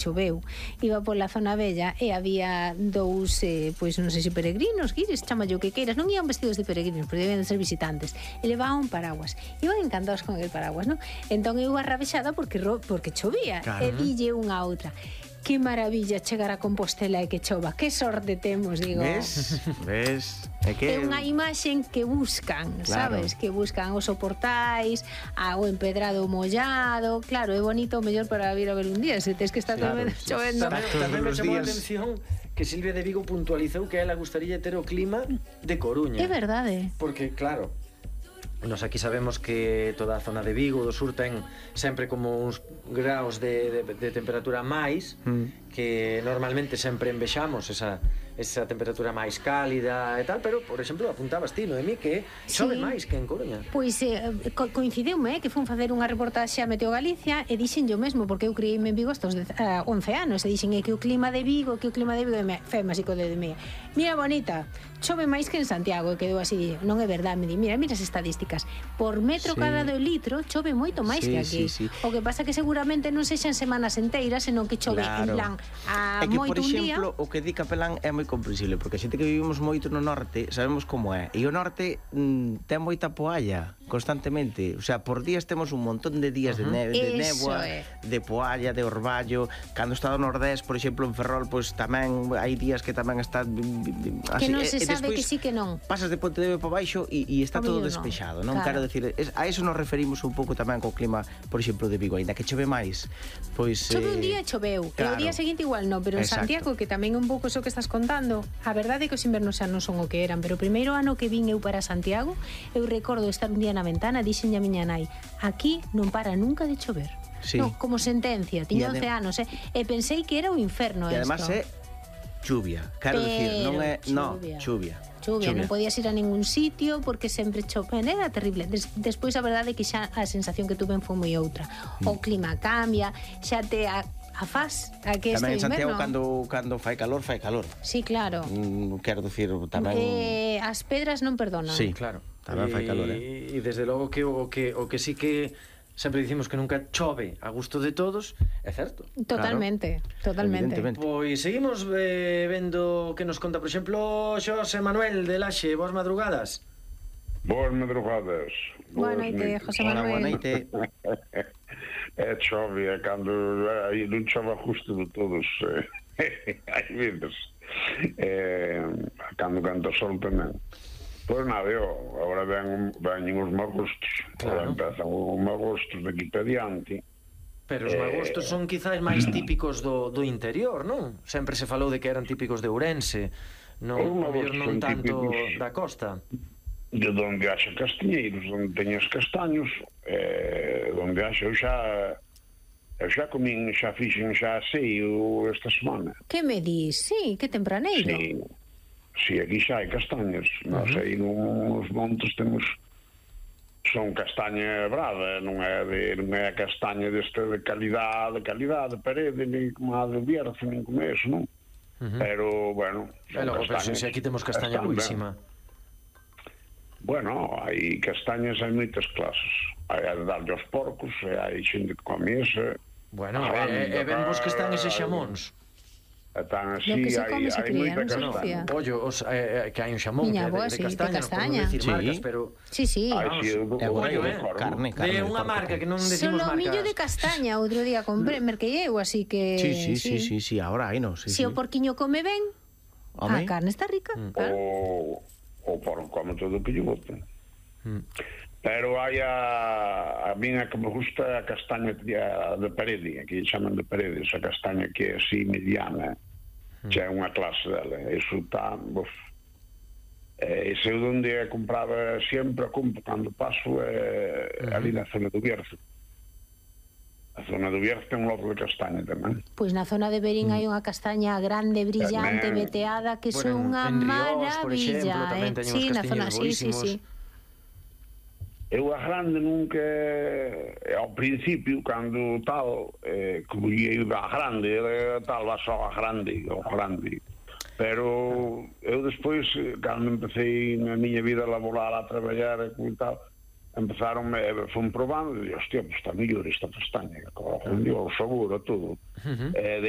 choveu, iba pola zona bella e había dous, pois non sei se peregrinos, guires, chamallo que queiras, non iban vestidos de peregrinos, pero deben de ser visitantes, e levaban un paraguas, iban encantados con el paraguas, non? Entón eu arrabexada porque chovía, e dille unha a outra: que maravilla chegar a Compostela e que chova, que sorte temos, digo. Ves? É unha imaxe que buscan, sabes? Que buscan os soportais, o empedrado mollado. Claro, é bonito, mellor para vir a ver un día, se tes que estar chovendo. Tamén me chamou a atención que Silvia de Vigo puntualizou que a ela gustaría ter o clima de Coruña. É verdade. Porque, claro, nos aquí sabemos que toda a zona de Vigo, do sur, ten sempre como uns graus de temperatura máis, que normalmente sempre envexamos esa temperatura máis cálida e tal, pero, por exemplo, apuntabas ti, Noemí, que chove máis que en Coruña. Pois coincideume que fun facer unha reportaxe a Meteo Galicia e dixen yo mesmo, porque eu criei-me en Vigo estos 11 anos, e dixen que o clima de Vigo, fema así co dedo de mí. Mira, bonita, chove máis que en Santiago, e quedou así, non é verdade, me di, mira as estadísticas, por metro cadrado de litro chove moito máis que aquí. O que pasa que seguramente non sexan semanas enteiras, senón que chove en plan a moito un día. É que, por exemplo, o que di Capelán é moi comprensible, porque a xente que vivimos moito no norte sabemos como é, e o norte ten moita poalla constantemente, o sea, por días temos un montón de días de néboa, de poalla, de orballo. Cando está do nordés, por exemplo, en Ferrol, pois tamén hai días que tamén está así, que non se sabe que sí que non. Pasas de Pontevedra para baixo e está todo despexado, non? Quero decir, a eso nos referimos un pouco tamén co clima, por exemplo, de Vigo, aínda que chove máis, pois chove un día e choveu, e o día seguinte igual non, pero en Santiago, que tamén é un pouco iso que estás contando, a verdade é que os invernos xa non son o que eran, pero o primeiro ano que vin eu para Santiago, eu recordo estar un día na ventana, dixenlle a miña nai: aquí non para nunca de chover. No, como sentencia, tiña 11 anos, e pensei que era o inferno isto. E además é chuvia, quero dicir, non é, chuvia, non podías ir a ningún sitio porque sempre choven, era terrible. Despois a verdade é que xa a sensación que tuve foi moi outra. O clima cambia, xa te afás a que este inverno. Tamén en Santiago cando fai calor. Sí, claro. Quero dicir, tamén as pedras non perdonan. Sí, claro, tamén fai calor, E desde logo que o que sí que sempre dicimos que nunca chove a gusto de todos, é certo. Totalmente. Pois seguimos vendo que nos conta, por exemplo, Xosé Manuel de Laxe. Boas madrugadas. Boas madrugadas. Boa noite, José Manuel. Boa noite. É chove, é cando non chove a gusto de todos. Hai veces. Cando sol tamén. Pois nada, agora ven os magostos. Agora empezan os magostos de aquí para diante. Pero os magostos son quizás máis típicos do interior, non? Sempre se falou de que eran típicos de Ourense, non tanto da costa. De onde haxa castiñeiros, onde teñas castaños, onde haxa, eu xa comín, xa fixen, xa aseio esta semana. Que me dis? Sí, que tempraneiro. Sí, aquí xa hai castañas. Non sei, nos montes temos... Son castaña brava, non é castaña desta de calidade, de parede, nin como a de Bierzo, nin como eso, non? Pero, bueno... Pero se aquí temos castaña buísima. Bueno, hai castañas, hai moitas clases. Hai a de darlle aos porcos, hai xente que come esa... Bueno, e ben vos que están eses xamóns. Están así, hai moita castaña. Pollo, que hai un xamón de castaña, non podemos dicir marcas, pero... Sí. Carne. De unha marca que non decimos marcas. Solomillo de castaña, outro día compré, merquei eu, así que... Sí, ahora hai, non? Se o porquiño come ben, a carne está rica, claro. O porco come todo o que lle boten. Pero hai a minha que me gusta a castaña de parede, que chaman de parede, esa castaña que é así mediana, xa é unha clase dela. Eso está, ese é onde a compraba sempre, cando paso ali na zona do Bierzo. A zona do Bierzo ten un lote de castaña tamén. Pois na zona de Verín hai unha castaña grande, brillante, veteada, que son unha maravilla. Sí, na zona, sí. Eu a grande nunca, ao principio, cando tal, como ia a grande, tal, va só a grande, pero eu despois, cando empecé na miña vida a laborar, a traballar e tal, fun probando e dixo, hostia, pues está mellor esta castaña, o sabor, a todo. de